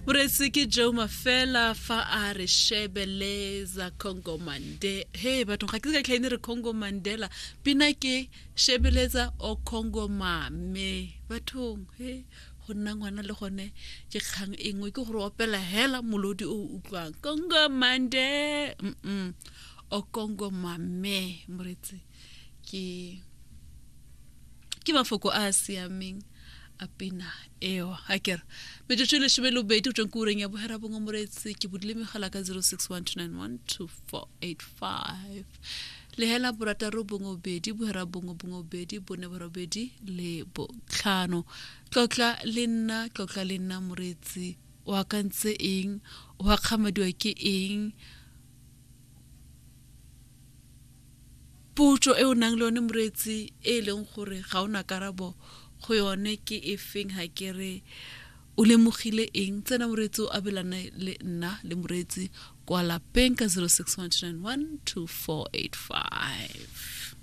Moreetsi ke Joe Mafela fa a re shebeleza Congo Mande. He bathong ga ke se ka tlhaene re Congo Mandela. Pina ke shebeletsa o Congo Mame. Bathong he go nna ngwana le gone ke kgang e nngwe ke gore opela hela molodi o utlwang Congo Mande. Mm o Congo Mame moreetsi ke ke mafoko a a siameng a pina eo a kere metsotso e lesome le bobedi go tsweng ko ureng ya bohera bongwe moreetsi ke bodile megala ka 0612912485 lehela borataro bongwe bobedi bohera bongwe bongwe bobedi bone borobedi le botlhano tlotla le nna tlotla le nna moreetsi o akantse eng o akgamadiwa ke eng Potso e o nang le yone moreetsi e e leng gore ga o na karabo go yone ke e feng ga ke re o lemogile eng tsena moreetsi o abelane le nna le moreetsi kwa lapeng ka 0612912485.